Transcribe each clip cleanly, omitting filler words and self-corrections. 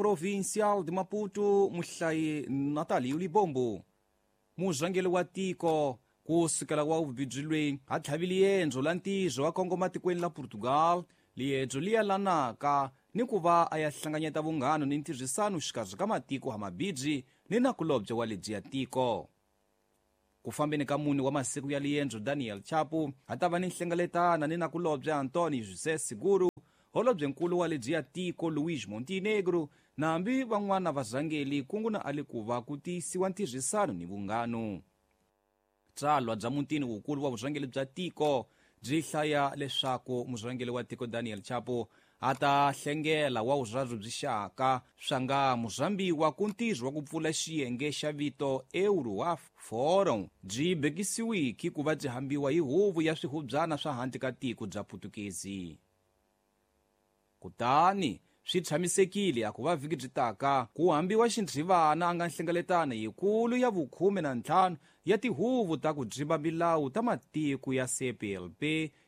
Provincial de Maputo, muhlayi Natalio Libombo. Murhangeri wa tiko ku sukela wa vubibyi loyi a tlhavile yendzo la ntirho wa kongoma tikweni la Portugal, liendzo li yelanaka ni ku va a ya hlanganyeta vunghano ni ntirhisano xikarhi ka matiko ha mabibyi ni nakulobye wa lebyi tiko. Ku fambeni ka mune wa masiku ya liendzo, Daniel Chapo a ta va ni nhlengeletana ni nakulobye Antonio José Seguro, holobyenkulu wa lebyi ya tiko Luís Montenegro, na hambi van'wana varhangeli kungu na ali ku va ku tiyisiwa ntirhisano ni vunghano. Tsalwa bya mutini wukulu wa vurhangeri bya tiko byi hlaya leswaku murhangeri wa tiko Daniel Chapo a ta hlengela wa vurharhu byi xaka swa nga murhambiwa ku ntirho wa ku pfula xiyenge xa vito Euroaf Forum byi bekisiwiki ku va byi hambiwa hi huvo ya swihubyana swa handle ka tiko bya Putukezi. Kutani swi tshamisekile a ku va vhiki byi taka ku hambiwa xinthivana a nga nhlengeletano yikulu ya vukhume na ntlhanu ya tihuvo ta ku dzimba milawu ta matiko ya CPLP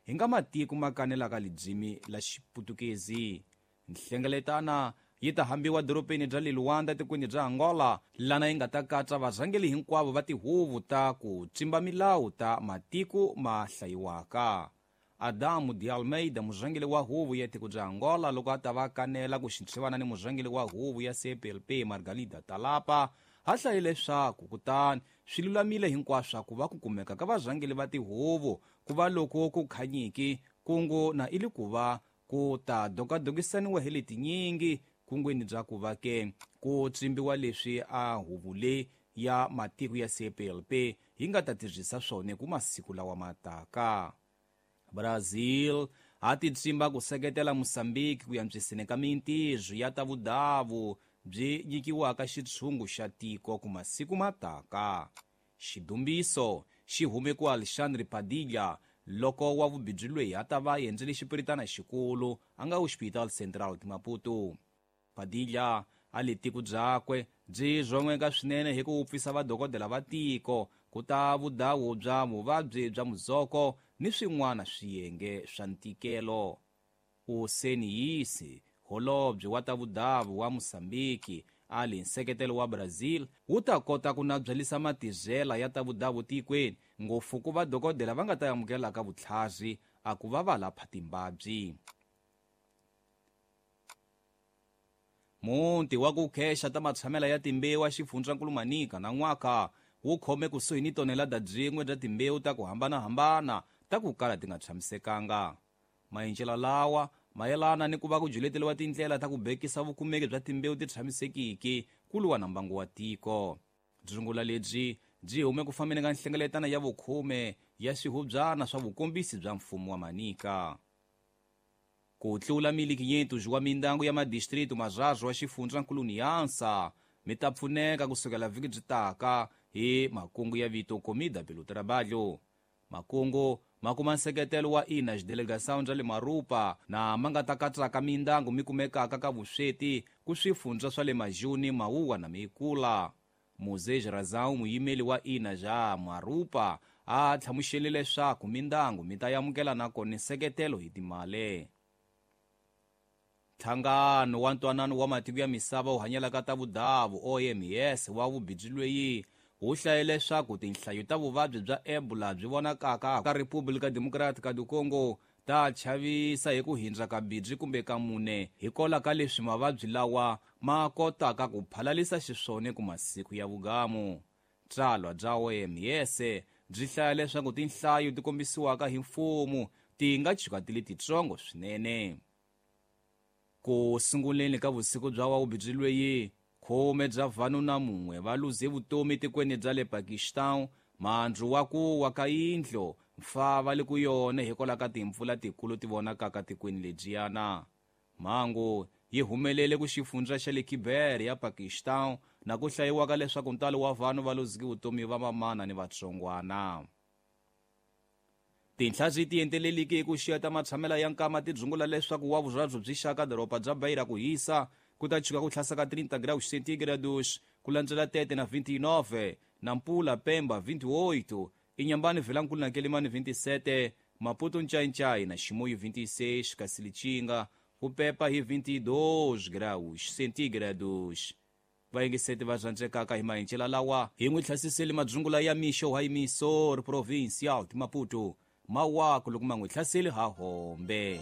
hi nga matiko ma kanelaka lidzimi la Xiputukezi. Nhlengeletana yi ta hambiwa doropeni bya le Luanda tikweni bya Angola, lana yi nga ta katsa varhangeri hinkwavo va tihuvo ta ku tsimba milawu ta matiko ma hlayiwaka. Adamu de Almeida, murhangeri wa huvo ya tiko bya Angola, loko a ta va kanela ku xinthivana ni murhangeri wa huvo ya CPLP Margarida Talapa, a hlaye leswaku kutani swi lulamile hinkwaswo ku va ku kumeka ka varhangeri va tihuvo ku va loko ku khanyiki kungu na ili ku va ku ta dokadokisaniwa hi letinyingi kungwini bya ku va ke ku tsimbiwa leswi a huvo leyi ya matiko ya CPLP yi nga ta tirhisa swona ku masiku lawa ma taka. Brazil a ti tsimba ku seketela Mozambique ku antswiseni ka mintirho ya ta vudavu byi nyikiwaka xitshungu xa tiko ku masiku ma taka. Xidumbiso xi hume ku Alexandre Padilha loko wa vubibyi loyi a ta va endzele xipiritana xikulu a nga Hospital Central de Maputo. Padilha a le tiko byakwe byi rhon'weka swinene hi ku wupfisa vadokodela va tiko ku ta vudawu bya vuvabyi bya muzoko ni swin'wana swiyenge swa ntikelo. Useniyisi, holobye wa ta vudavu wa Mozambique, a li nseketelo wa Brazil wu ta kota ku nabyalisa matizela ya ta vudavu tikweni, ngopfu ku vadokodela va nga ta amukelaka vutlhari a ku va va lapha timbabyi. Muti wa ku khexa ta matshamela ya timbewu a xifundzankulu Manica na n'waka wu khome kusuhi ni tonelada byin'we bya timbewu ta ku hambanahambana ta ku kala ti nga tshamisekanga. Maendlelo lawa mayelana ni ku va ku juleteriwa tindlela ta ku bekisa vukumeki bya timbewu ti tshamisekiki ku lwa na mbangu wa tiko. Dzungula lebyi byi hume ku fambeni ka nhlengeletano ya vukhume ya swihubyana swa vukombisi bya mfumo wa Manica. Ku tlula milikinyetu wa mindangu ya madistritu marharhu wa xifundzankulu Niansa mi ta pfuneka kusukela vhiki byi taka hi makungu ya vito Comida pelo Trabalho. Makungu ma kuma nseketelo wa ina xidelegação bya le Marupa na ma nga ta katsaka mindangu mi kumekaka ka vusweti ku swifundza swa le Majuni, Mauwa na Meikula. Moses Razão, muyimeli wa ina ja Marupa, a hlamusele leswaku mindangu mi ta amukela nakona nseketelo hi timali. Nhlangano wa Ntwanano wa Matiko ya Misava wu hanyelaka ta vudavu OMS wa vubibyi loyi wu hlaye leswaku tinhlayo ta vuvabyi bya Ebola byi vonakaka ka República Democrática do Congo ta chavisa hi ku hindza ka bibyi kumbe ka mune hikola ka leswi mavabyi lawa ma kotaka ku phalalisa xiswona ku masiku ya vugamu. Tsalwa bya OMS byi hlaya leswaku tinhlayo ti kombisiwaka hi mfumo ti nga chuka ti li titsongo swinene. Ku sunguleni ka vusiku bya wa vubibyi loyi, khume bya vanhu na mun'we va luze vutomi tikweni bya le Pakistan, mandzu wa ku wa ka yindlu mfa va le ku yona hikwalaho ka timpfula tikulu ti vonakaka tikweni lebyiyana. Mhangu yi humelele ku xifundza xa le Khyber ya Pakistan na ku hlayiwaka leswaku ntalo wa vanhu va luzeke vutomi va mamana ni vatsongwana. Tinhla byi ti enteleliki hi ku xiya ta matshamela ya nkama ti dzungula leswaku wa vurharhu byi xaka doroba bya Beira ku hisa ku ta chuka ku tlhasa ka 30 graus centígrados ku landzela Tete na 29, Nampula Pemba 28, Inhambane Vilankulu na Quelimane 27, Maputo Ncaincaí na Chimoio 26, kasi Lichinga Ku pepa hi 22 graus centígrados. Vayingiseti va rhandzekaka hi mahincela lawa hi n'wi hlasiseli madzungula ya mixo wa emissor provincial de Maputo. Mawaku loko ma n'wi hlaseli ha hombe.